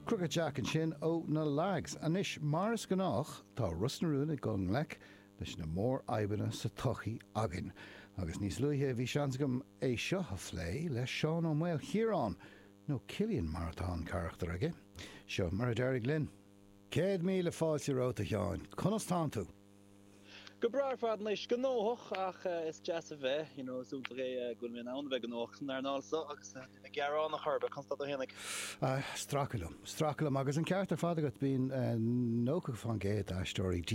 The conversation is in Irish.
Crooked Jack ansin ó na Lags. Anois, mar is gnách, tá Ros na Rún ag dul i ngleic leis na mórfhadhbanna sa tsochaí againn. Agus níos luaithe bhí seans agam é seo a phlé le Seán Ó Maolchiaráin, nó Cillian mar atá an carachtar aige. Seo mar a d'éirigh linn. 100,000 fáilte romhat, a Sheáin. Conas tánn tú? Go breá ar fad anois. Gnóthach ach is deas a bheith, you know, is iontach é go bhfuil mé in ann a bheith gnóthach san earnáil seo agus níl mé gearánach ar bith. Conas tá tú fhéinig? Stracadh liom. Stracadh liom agus an ceart ar fad agat, bíonn 90% d'aisteoirí.